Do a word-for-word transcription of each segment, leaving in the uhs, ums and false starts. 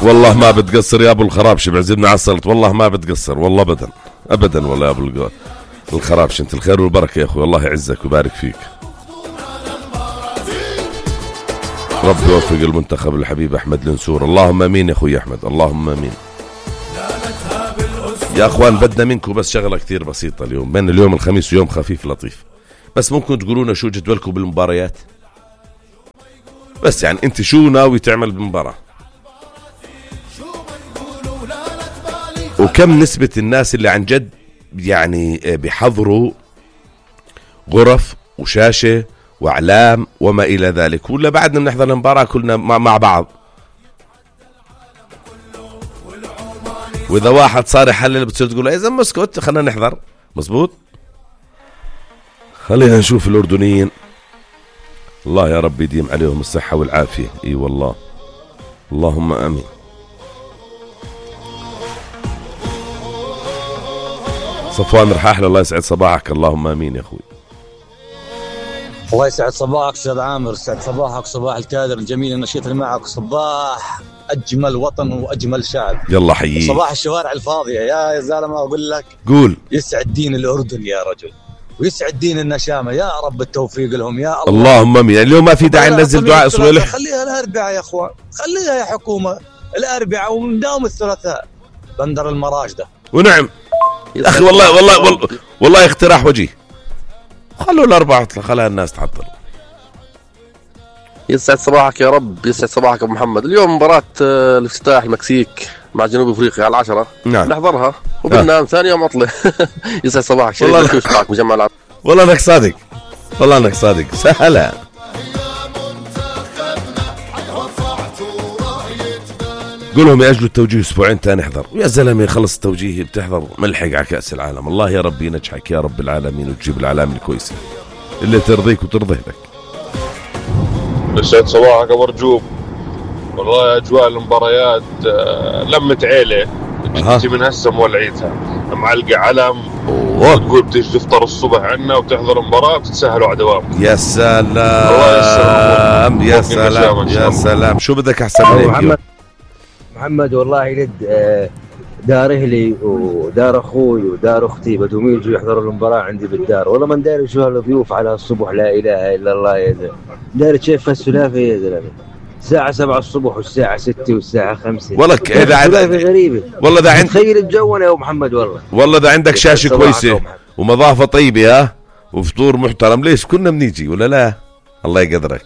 والله ما بتقصر يا ابو الخرابش، بعزمنا على السلط والله ما بتقصر والله ابدا ابدا والله يا ابو الخرابش. انت الخير والبركه يا اخوي، الله يعزك ويبارك فيك. رب يوفق المنتخب الحبيب احمد النسور، اللهم امين يا اخوي احمد، اللهم امين. يا اخوان بدنا منكم بس شغله كثير بسيطه اليوم، بين اليوم الخميس ويوم خفيف لطيف، بس ممكن تقولونا شو جدولكم بالمباريات؟ بس يعني انت شو ناوي تعمل بالمباراه؟ وكم نسبة الناس اللي عن جد يعني بيحضروا غرف وشاشة وإعلام وما إلى ذلك، ولا بعدنا بنحضر المباراة كلنا مع بعض؟ وإذا واحد صار يحلل بتصير تقول إذا مسكت خلينا نحضر. مزبوط. خلينا نشوف الأردنيين، الله يا رب يديم عليهم الصحة والعافية. إي والله اللهم آمين. صفوان رحاحل الله يسعد صباحك، اللهم امين يا اخوي. الله يسعد صباحك استاذ عامر، يسعد صباحك صباح الكادر الجميل النشيط اللي معك، صباح اجمل وطن واجمل شعب. يلا حييك. صباح الشوارع الفاضيه يا زلمه، اقول لك قول. يسعد دين الاردن يا رجل، ويسعد دين النشامه، يا رب التوفيق لهم يا الله. اللهم امين. اليوم ما في داعي ننزل دعاء صويلح، خليها الاربعاء يا اخوان، خليها يا حكومه الاربعاء ونداوم الثلاثاء بندر المراجده. ونعم اخي والله والله والله, والله اقتراح وجيه، خلوا الاربعه خلها الناس تعطل. يسعد صباحك يا رب، يسعد صباحك ابو محمد. اليوم مباراة الافتتاح المكسيك مع جنوب افريقيا على العشرة، نعم نحضرها وبننام ثاني يوم عطله. يسعد صباحك شريف معك مجمع العرب. والله انك صادق، والله انك صادق. سهلا. قولهم يأجلوا التوجيه اسبوعين تاني نحضر. ويا زلمه يخلص التوجيه بتحضر ملحق على كأس العالم. الله يا رب ينجحك يا رب العالمين وتجيب العلامه الكويسه اللي ترضيك وترضي لك. يسعد صباحك ابو رجوب. والله اجواء المباريات لمة عيله انت من هسه مولعيتها، معلقه علم وتقول بتيجي تفطر الصبح عنا وبتحضر المباراه بتتسهلوا على دوام. يا سلام يا سلام يا سلام. شو بدك احسن من هيك؟ محمد محمد والله لد دار اهلي ودار اخوي ودار اختي بدهم يجوا يحضروا المباراه عندي بالدار، والله ما نداري شو هالضيوف على الصبح، لا اله الا الله يا زلمه. داري شايف السلافه يا زلمه، الساعة سبعة الصبح والساعة ستة والساعة خمسة. والله إذا عندك غريبة، والله إذا عندك تخيل الجو يا أبو محمد. والله والله إذا عندك شاشة كويسة ومضافة طيبة ها وفطور محترم ليش كنا بنيجي ولا لا؟ الله يقدرك.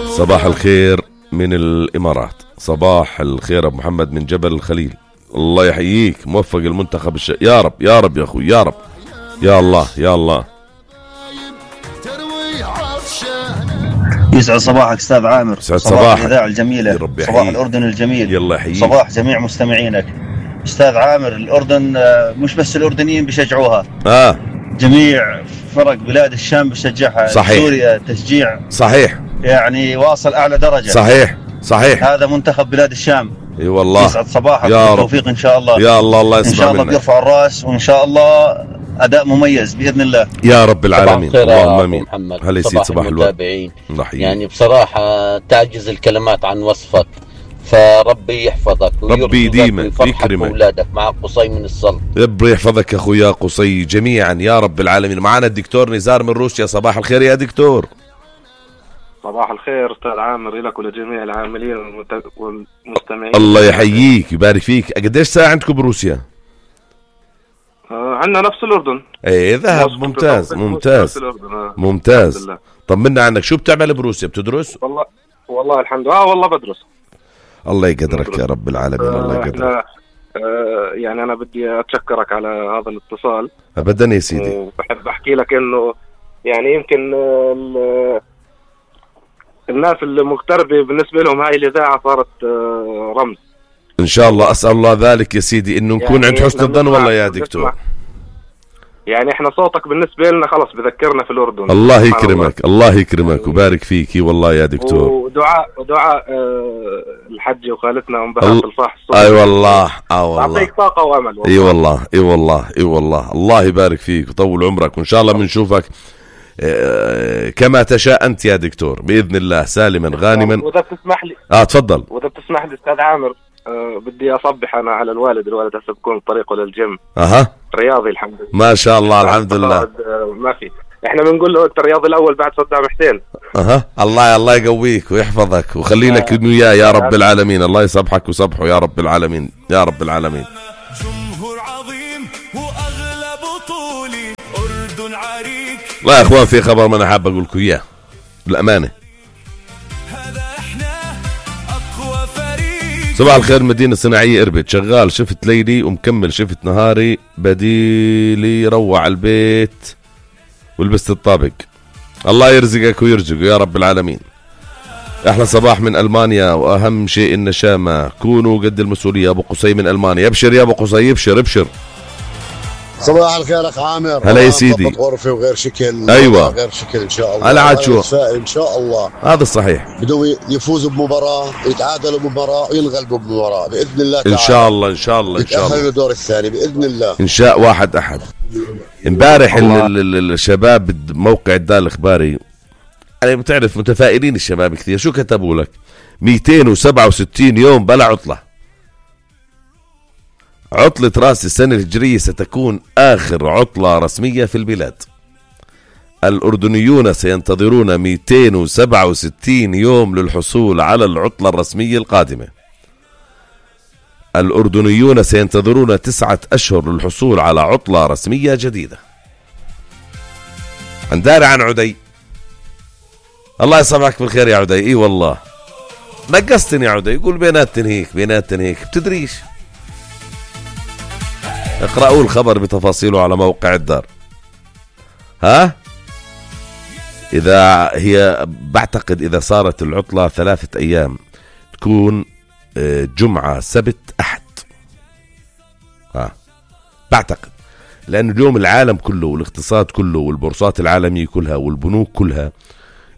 صباح الخير من الإمارات، صباح الخير أبو محمد من جبل الخليل، الله يحييك، موفق المنتخب الش... يا رب يا رب يا أخوي يا رب يا الله يا الله. يسعد صباحك استاذ عامر، صباح, صباح الاذاعه الجميله، صباح الاردن الجميل، يلا يحييك. صباح جميع مستمعينك استاذ عامر. الاردن مش بس الاردنيين بيشجعوها، اه جميع فرق بلاد الشام بيشجعها. صحيح. سوريا تشجيع صحيح يعني واصل اعلى درجه. صحيح صحيح. هذا منتخب بلاد الشام. اي والله. يسعد صباحك يا بالتوفيق ان شاء الله. يا الله الله يسمع ان شاء الله منك. بيرفع الراس وان شاء الله اداء مميز باذن الله يا رب العالمين. اللهم امين. هلا يسعد صباح المتابعين. يعني بصراحه تعجز الكلمات عن وصفك، فربي يحفظك ربي يديمك ويكرمك اولادك مع قصي من السلط. ربي يحفظك يا اخويا قصي جميعا يا رب العالمين. معنا الدكتور نزار من روسيا، صباح الخير يا دكتور. صباح الخير استاذ عامر لك ولجميع العاملين والمستمعين. الله يحييك يبارك فيك. قديش ساعه عندكم بروسيا؟ آه عندنا نفس الاردن. ايه ذهب. ممتاز ممتاز ممتاز. طمنا عنك، شو بتعمل بروسيا؟ بتدرس؟ والله والله الحمد لله. اه والله بدرس. الله يقدرك يا رب العالمين. آه الله يقدرك. آه يعني انا بدي اتشكرك على هذا الاتصال ابدا يا سيدي. وبحب احكي لك انه يعني يمكن الناس المغتربة بالنسبة لهم هاي الإذاعة صارت رمز إن شاء الله. أسأل الله ذلك يا سيدي إنه نكون يعني عند حسن الظن والله يا دكتور. يعني إحنا صوتك بالنسبة لنا خلص بذكرنا في الأردن. الله يكرمك الله يكرمك وبارك فيك والله يا دكتور. ودعاء ودعاء الحجة وخالتنا أم بهاء الفاح الصبح. أي والله آه والله تعطيك طاقة وأمل. إي والله إي والله إي والله الله يبارك فيك وطول عمرك وإن شاء الله بنشوفك كما تشاء أنت يا دكتور بإذن الله سالما غانما. وإذا بتسمح لي آه تفضل. وإذا بتسمح لي أستاذ عامر، أه بدي أصبح أنا على الوالد. الوالد هسه بكون طريقه للجيم. أها رياضي الحمد لله ما شاء الله الحمد لله. ما في، احنا بنقول له انت الرياضي الاول بعد صدام حسين. اها الله الله يقويك ويحفظك ويخلي لك انه يا يا رب العالمين. الله يصبحك وصبحه يا رب العالمين يا رب العالمين. جمهور عظيم واغلى بطولي اردن عريق. لا يا اخوان في خبر ما انا حاب اقول لكم اياه بالامانه. هذا احنا اقوى فريق. صباح الخير مدينه صناعيه اربد، شغال شفت ليلي ومكمل شفت نهاري، بديلي روع البيت ولبست الطابق. الله يرزقك ويرزقه يا رب العالمين. احلى صباح من المانيا، واهم شيء النشامه، كونوا قد المسؤوليه. ابو قصي من المانيا، ابشر يا ابو قصي ابشر ابشر. صباح الخير اخ عامر. هلا يا سيدي. غرفه وغير شكل. ايوه غير شكل ان شاء الله. هلا عاد شو ان شاء الله هذا الصحيح. بدهم يفوزوا بمباراه، يتعادلوا بمباراه وينغلبوا بمباراه باذن الله تعالى. ان شاء الله ان شاء الله ان شاء الله يتأهلوا الدور الثاني باذن الله ان شاء واحد احد. امبارح الشباب بموقع الدال الاخباري يعني بتعرف متفائلين الشباب كثير، شو كتبوا لك؟ مئتين وسبعة وستين يوم بلا عطله. عطلة راس السنة الهجرية ستكون آخر عطلة رسمية في البلاد. الأردنيون سينتظرون مئتين وسبعة وستين يوم للحصول على العطلة الرسمية القادمة. الأردنيون سينتظرون تسعة أشهر للحصول على عطلة رسمية جديدة. عنداري عن عدي. الله يصبحك بالخير يا عدي. اي والله نقصتني يا عدي. يقول بينات تنهيك بينات تنهيك بتدريش. اقرأوا الخبر بتفاصيله على موقع الدار. ها إذا هي بعتقد إذا صارت العطلة ثلاثة أيام تكون جمعة سبت أحد. ها بعتقد لأن اليوم العالم كله والاقتصاد كله والبورصات العالمية كلها والبنوك كلها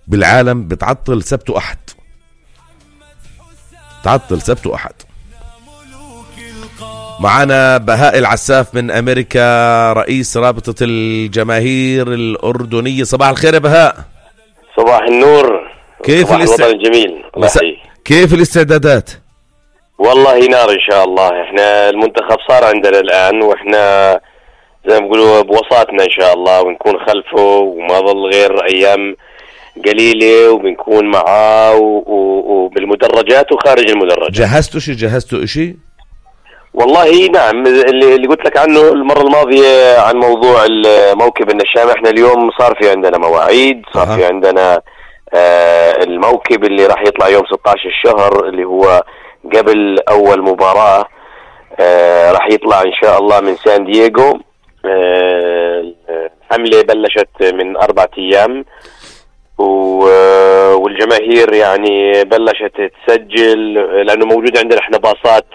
بالعالم بتعطل سبت وأحد. تعطل سبت وأحد. معنا بهاء العساف من أمريكا رئيس رابطة الجماهير الأردنية. صباح الخير يا بهاء. صباح النور. كيف الاستعدادات الجميل مس... كيف الاستعدادات؟ والله نار إن شاء الله. احنا المنتخب صار عندنا الآن واحنا زي ما بيقولوا بوساطنا إن شاء الله ونكون خلفه وما ظل غير أيام قليلة وبنكون معاه وبالمدرجات وخارج المدرجات. جهزتوا شيء جهزتوا شيء؟ والله نعم اللي, اللي قلت لك عنه المرة الماضية عن موضوع الموكب النشامة. احنا اليوم صار في عندنا مواعيد، صار أه. في عندنا آه الموكب اللي راح يطلع يوم ستة عشر الشهر اللي هو قبل أول مباراة آه راح يطلع إن شاء الله من سان دييغو. آه الحملة بلشت من أربعة أيام والجماهير يعني بلشت تسجل لأنه موجود عندنا احنا باصات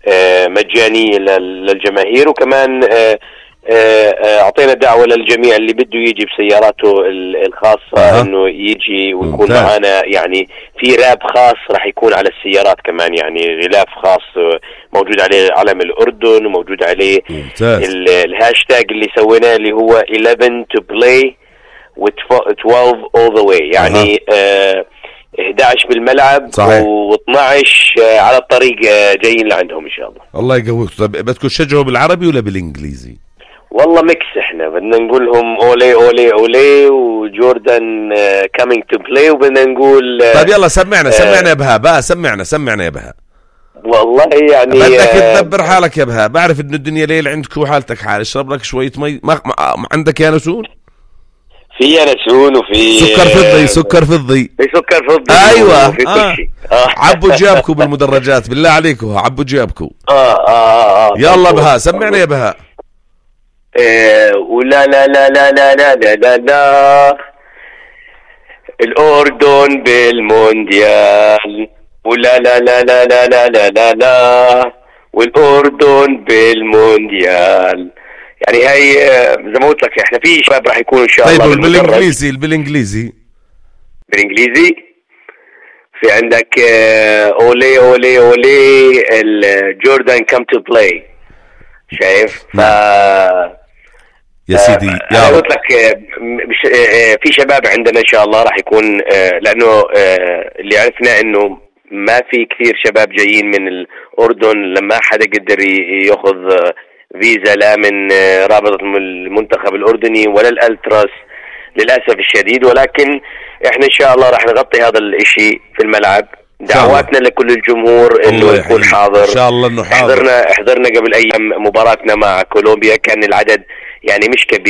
آه مجانية للجماهير وكمان اعطينا دعوة للجميع اللي بده يجي بسياراته الخاصة أه. انه يجي ويكون معنا يعني في راب خاص راح يكون على السيارات كمان يعني غلاف خاص موجود عليه علم الأردن وموجود عليه الهاشتاج اللي سويناه اللي هو eleven to play with twelve all the way يعني أه. آه إحدى عشر بالملعب و12 على الطريق جايين لعندهم ان شاء الله. الله يقويك. طب بدكم تشجعوا بالعربي ولا بالانجليزي؟ والله ميكس. احنا بدنا نقول لهم اولي اولي اولي وجوردن كامينج تو بلاي وبدنا نقول طيب يلا سمعنا سمعنا يا بهاء بقى سمعنا سمعنا يا بهاء. والله يعني بدك تدبر حالك يا بهاء. بعرف انه الدنيا ليل عندك وحالتك حال. اشرب لك شويه مي. ما... ما... عندك يانسون؟ في ينسون وفي سكر فضي سكر فضي في سكر فضي ايوه وفي آه. كل شيء. آه. عبوا جيابكم بالمدرجات بالله عليكم عبوا جيابكم. اه اه اه يلا بهاء سمعنا يا بهاء. إيه ولا لا لا لا لا لا لا لا لا الأردن بالمونديال ولا لا لا لا لا لا لا لا لا والأردن بالمونديال. يعني هاي زي ما قلت لك احنا في شباب راح يكونوا ان شاء الله. طيب بالانجليزي بالانجليزي بالانجليزي في عندك اولي اولي اولي الجوردن كم تو بلاي. شايف ف يا سيدي آه يا أنا قلت لك آه في شباب عندنا إن شاء الله راح يكون آه لأنه آه اللي عرفنا إنه ما في كثير شباب جايين من الأردن، لما حدا قدر يأخذ آه فيزا لا من آه رابطة المنتخب الأردني ولا الألتراس للأسف الشديد. ولكن إحنا إن شاء الله راح نغطي هذا الإشي في الملعب. دعواتنا لكل الجمهور انه يكون حاضر ان شاء الله انه حاضر. حضرنا حضرنا قبل ايام مباراتنا مع كولومبيا، كان العدد يعني مش كبير.